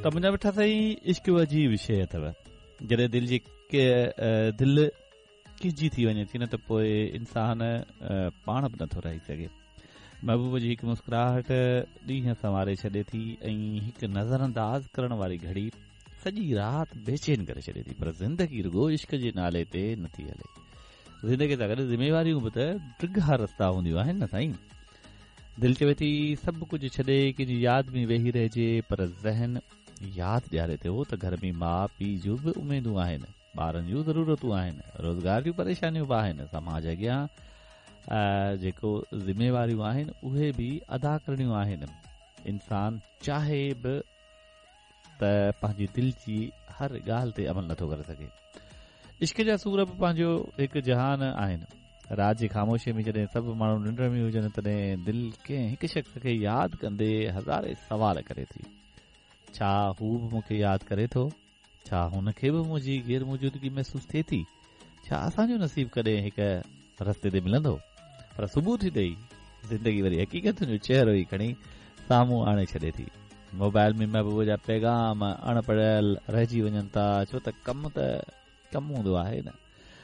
ته منهنجا مٺا سائين عشق عجيب شيء اٿو. جڏهن دل جي دل ڪنهن جي ٿي وڃي ٿي نه ته پوء انسان پاڻ به نٿو رهي سگهي. محبوب جي هڪ مسڪراهٽ ڏينهن سنواري ڇڏي ٿي ۽ هڪ نظرانداز ڪرڻ واري گهڙي سڄي رات بيچين ڪري ڇڏي ٿي. پر زندگي رڳو عشق جي نالي تي نٿي هلي. زندگي سان گڏ ذميواريون به ته ڊگها رستا هونديون آهن نه سائين. دل چوي ٿي سڀ ڪجهه ڇڏي ڪنهن جي ياد ۾ ويهي رهجي پر ذهن ياد ڏياري ٿو ته گهر ۾ ماء پيء جون به اميدون آهن، ٻارن جون ضرورتون آهن، روزگار جون پريشانيون به آهن، سماج اڳيان جيڪو ذميواريون آهن اهي به ادا ڪرڻيون آهن. انسان چاهي به ته پنهنجي دل جي هر ڳالهه تي عمل نٿو ڪري سگهي. عشق جا سور به پنهنجو هڪ جهان آهن. رات جي خاموشيء ۾ جڏهن سڀ ماڻهو ننڊ ۾ هجن تڏهن دل ڪنهن هڪ شخص کي ياد ڪندي هزارين سوال ڪري ٿي. ڇا هو به مون کي ياد ڪري ٿو؟ ڇا هن کي به منهنجي غير موجودگي محسوس ٿئي ٿي؟ ڇا اسان جو نصيب ڪڏهن هڪ رستي تي ملندو؟ پر صبح ٿيندي ئي زندگي وري حقيقتن جو چهرو ئي کڻي سامهون آڻي ڇڏي ٿي. موبائل ۾ محبوب جا پيغام اڻ پڙهيل رهجي وڃن ٿا ڇو ته ڪم ته ڪم هوندو آهي نه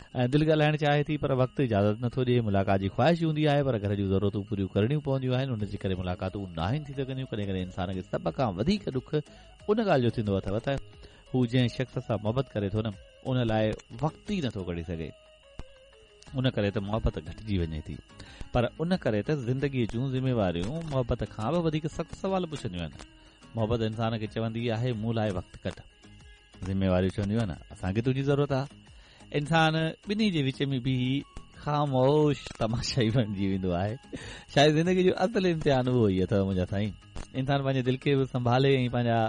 ۽ دل ڳالهائڻ چاهي ٿي پر وقت اجازت نٿو ڏئي. ملاقات جي خواهش هوندي آهي پر گهر جون ضرورتون پوريون ڪرڻيون پونديون آهن ان جي ڪري ملاقاتون ناهن ٿي سگهنديون. ڪڏهن ڪڏهن انسان کي سڀ کان وڌيڪ ڏک ان ڳالهه جو ٿيندو اٿو ته هو جنهن شخص سان محبت ڪري ٿو نه ان لاء وقت ئي نٿو ڪڍي سگهي. ان ڪري ته محبت گهٽجي وڃي ٿي پر ان ڪري ته زندگيء جون ذميواريون محبت کان به وڌيڪ سخت سوال پڇنديون آهن. محبت انسان کي چوندي آهي مون لاء وقت ڪڍ. ذميواريون چونديون آهن اسان کي تنهنجي ضرورت آهي. انسان ٻنهي جي وچ ۾ بيهي خاموش تماشائي بڻجي ويندو آهي. شايد زندگيء جو اصل امتحان اهو ئي اٿو منهنجا سائين. انسان پنهنجي دل کي به سنڀالي ۽ پنهنجا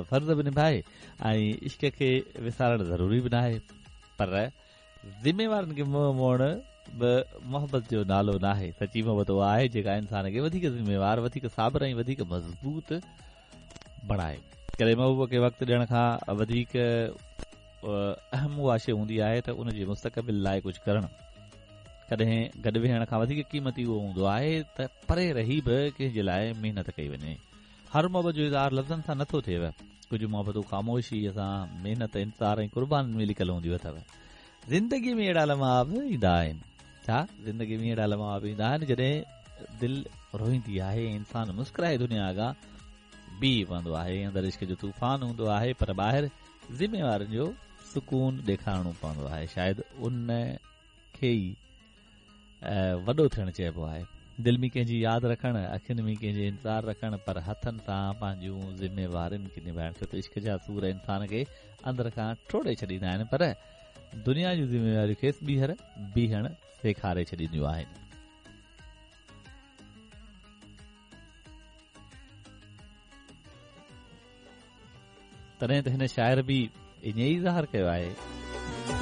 فرض به نڀائي ۽ عشق کي وسارڻ ضروري به ناهي پر ذميوارين کي منهن موڙڻ به محبت جو نالو ناهي. سچي محبت اها آهي جيڪا انسان کي وڌيڪ ذميوار، وڌيڪ صابر ۽ وڌيڪ مضبوط بڻائي. ڪڏهن محبوب کي وقت ڏيڻ کان وڌيڪ اهم اها شيء هوندي آهي ته ان جي مستقبل لاء ڪجهه ڪرڻ. ڪڏهن گڏ ويهڻ کان وڌيڪ قيمتي اهو هوندو آهي ته پري رهي به ڪنهن جي لاء محنت ڪئي وڃي. هر محبت جو اظهار لفظن سان نٿو ٿئي. ڪجهه محبتون خاموشيء سان، محنت، انتظار ۽ قربانين ۾ لڪل هونديون اٿو. زندگيء ۾ اهڙا لمحا به ايندا آهن. ڇا زندگيء ۾ اهڙا لمحا به ايندا آهن جڏهن دل روئيندي آهي ۽ انسان مسڪرائي دنيا اڳيان بيهي پوندو آهي. اندر عشق جو طوفان هوندو آهي پر ٻاهر ذميوارين جو سڪون ڏيکارڻو پوندو آهي. شايد ان کي ئي وڏو ٿيڻ چئبو آهي. دل ۾ ڪنهن جي ياد رکڻ، اکين ۾ ڪنهن جي انتظار رکڻ، پر هٿن سان پنهنجون ذميوارين کي نڀائڻ، ڇو ته عشق جا سور انسان کي اندر کان ٽوڙي ڇڏيندا آهن، پر دنيا جون ذميواريون کيس ٻيهر بيهڻ سيکاري ڇڏينديون آهن. تڏهن ته هن شاعر به ائين ئي اظهار ڪيو آهي.